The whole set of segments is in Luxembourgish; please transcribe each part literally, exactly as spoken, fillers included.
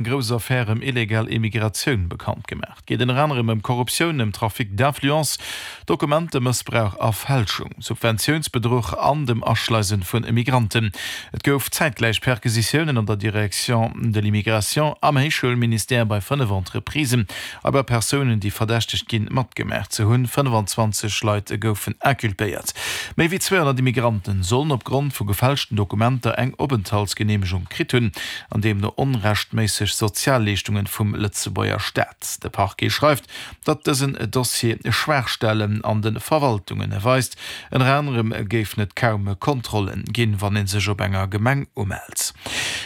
Grouss Affär ëm illegal Immigratioun bekannt gemaach. Et geet ënner anerem ëm Korruptioun, ëm Trafic d'influence, Dokumentemëssbrauch a Fälschung, Subventiounsbedruch an dem Aschleisen vun Immigranten. Et gouf zäitgläich Perquisitiounen an der Direction de l'immigration, am Héichschoulministère, bei fënnef Entreprisen a bei Persounen, déi verdächtegt ginn, matgemaach ze hunn. fënnfanzwanzeg Leit goufen inculpéiert. Méi wéi zweehonnert Immigranten sollen opgrond vu gefälschten Dokumenter eng Openthaltsgeneemegung kritt hunn an deemno onrechtméisseg Sozialleeschtungen vum Lëtzebuerger Staat. De Parquet schreift, datt dësen Dossier Schwaachstellen an de Verwaltungen weist. Ënner anerem géifen et kaum Kontrollen ginn, wann ee sech op enger Gemeng umellt.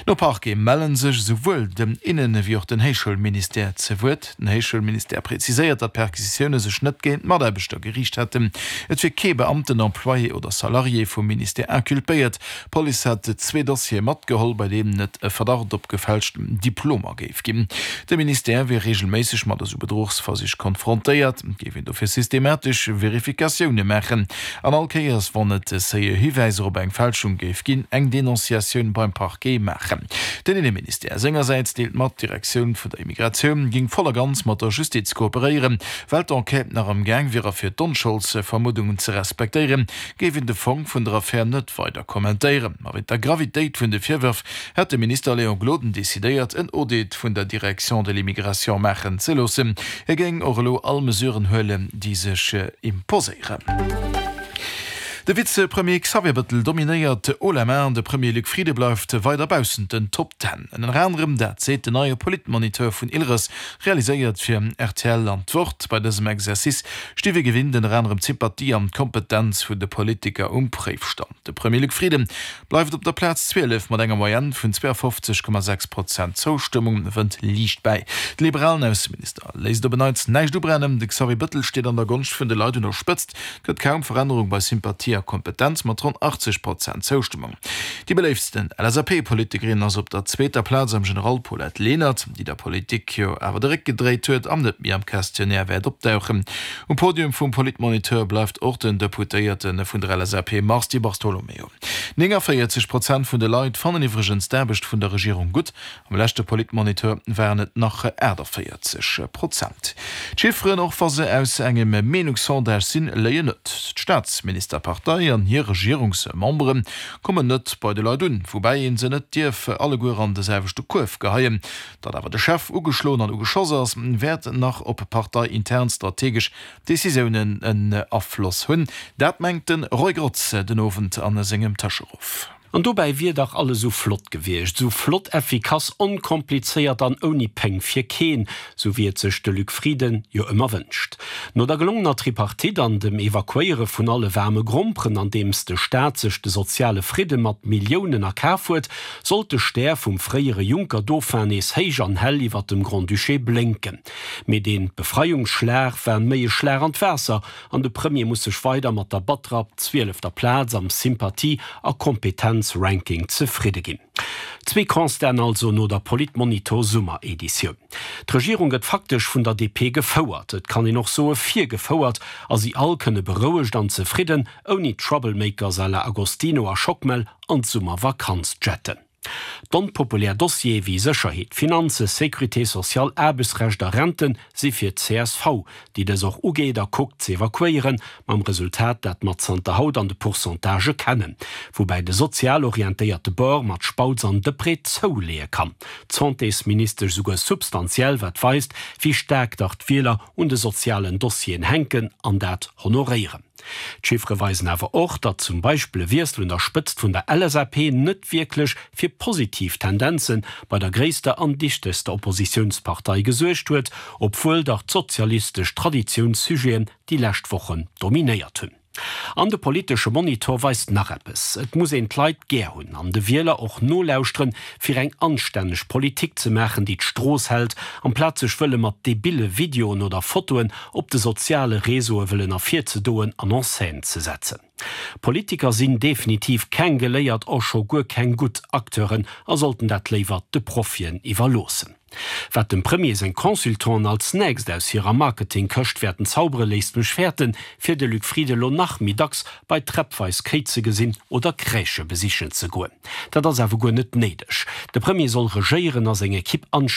No Parquet melle sech esouwuel den Innen ewéi och den Héichschoulministère ze Wuert. Den Héichschoulministère präziséiert, datt d'Perquisitioune sech net géint Mataarbechter geriicht hätten. Et wier kee Beamten, Employé oder Salarié vum Ministère inculpéiert. D'Police hätt zwee Dossiere matgeholl, bei deenen et e Verdacht op gefälschten Diplomer géif ginn. De Ministère wier reegelméisseg mat esou Bedruchsversich konfrontéiert, et géif een dofir systematesch Verifikatioune maachen an all Kéiers, wann et séier Hiwäiser op eng Fälschung géif ginn, eng Denonciatioun beim Parquet maachen. Den Inneministère sengersäits deelt mat, d'Direktioun vun der Immigratioun géing voll a ganz mat der Justiz kooperéieren. Well d'Enquête nach am Gaang wier a fir d'Onscholdsvermuddungen ze respektéieren, géif een de Fong vun der Affär net weider kommentéieren. Ma wéint der Gravitéit vun de Virwërf hätt de Minister Léon Gloden decidéiert, en Audit vun der Direction de l'immigration maachen ze loossen. Hie géing och elo all Mesuren huelen, déi sech imposéieren. De Vizepremier Xavier Bettel dominéiert haut la main, de Premier Luc Frieden bleift weider baussent den Top Ten. Ënner anerem dat seet den neie Politmoniteur vun Ilres, realiséiert fir rtl an d'Wort. Bei dësem Exercice sti wéi gewinnt ënner anerem d'Sympathie an d'Kompetenz vun de Politiker um Préifstand. De Premier Luc Frieden bleift op der Plaz zwielef mat enger Moyenne vun zweeafofzeg Komma sechs Prozent Zoustëmmung, wënnt liicht bäi. De liberalen Ausseminister léisst op en Neits näischt ubrennen, de Xavier Bettel steet an der Gonscht vun de Leit un der Spëtzt. Gëtt kaum Verännerung bei Sympathie a Kompetenz mat ronn achtzeg Prozent Zoustëmmung. Déi beléiftsten L S A P-Politikerin ass op der zweeter Plaz am General d'Paulette Lenert, déi der Politik jo awer de Réck gedréit huet an net méi am Questionnaire wäert opdauchen. Um Podium vum Politmoniteur bleift och den Deputéierte vun der L S A P Mars Di Bartolomeo. néngavéierzeg Prozent vun de Leit fannen iwwregens d'Aarbecht vun der Regierung gutt. Am leschte Politmoniteur waren et nach aachtavéierzeg Prozent. D'Chifferen, och wa se aus engem Meenungssondage sinn, léien net. D'Staatsministerpartei an hir Regierungsmembere kommen net bei de Leit un, woubäi ee se net dierf alleguer an de selwechte Kuerf geheien. Datt awer de Chef ugeschloen an ugeschoss ass, wäert nach op parteiintern strategesch Decisiounen en Afloss hunn. Dat mengt de Roy Grotz den Owend a sengem Tëscheruff. An dobäi wier dach alles sou flott gewiescht, sou flott, effikass, onkomplizéiert an ouni Péng fir keen, sou wéi et sech de Luc Frieden jo ëmmer wënscht. No der gelongener Tripartite an dem Evakuéiere vun alle waarme Gromperen, andeems de Staat sech de soziale Fridde mat Milliounen erkaf huet, sollt de Stär vum fréiere Juncker-Dauphin nees héich an hell iwwer dem Grand-Duché blénken. Mee dee Befreiungsschlag war méi e Schlag an d'Waasser an de Premier muss sech weider mat der batterer zwielefter Plaz am Sympathie a Kompetenzranking zefridde ginn. Zwee Constaten also no der Politmonitor-Summereditioun. D'Regierung gëtt faktesch vun der D P gefouert, et kann een och soe virgefouert, a si all kënne berouegt an zefridden, ouni Troublemakers à la Agostino a Schockmel, an d'Summervakanz jetten. D'onpopulär Dossiere wéi Sécherheet, Finanzen, Sécurité sociale, Aarbechtsrecht a Renten si fir d'C S V, déi dës och ugeet a kuckt z'evakuéieren, mam Resultat dat mer zanter haut an de Pourcentagë kennen, woubäi de sozial orientéierte Bord mat Spautz an Deprez zouleeë kann, d'Santésministesch souguer substantiell, wat weist, wéi staark dach d'Wieler un de sozialen Dossieren hänken an dat honoréieren. D'Chiffere weisen awer och, datt zum Beispill e Wiessel un der Spëtzt vun der L S A P net wierklech fir positiv Tendenze bei der gréisster an dichtegster Oppositiounspartei gesuergt huet, obwuel dach d'sozialistesch Traditiounssujeten déi lescht Wochen dominéiert hunn. An de politesche Monitor weist nach eppes, Et muss een d'Leit gär hunn an de Wieler och nolauschteren, fir eng anstänneg Politik ze maachen, déi d'Strooss hält, amplaz sech wëlle mat debille Videoen oder Fotoen op de soziale Réseaue wëllen ervirzedoen an en scène ze setzen. Politiker sinn definitiv keng geléiert, och scho guer keng gutt Acteuren a sollten dat léiwer de Profien iwwerloossen. Wat dem Premier seng Consultanten als nächst aus hirer Marketingkëscht wäerten zaubere léisst mech fäerten, fir de Luc Frieden lo nach méi dacks bei Träppweis Kéi ze gesinn oder Crèchë besichen ze goen. Dat ass awer guer net néideg. De Premier soll regéieren a seng Ekipp anstänneg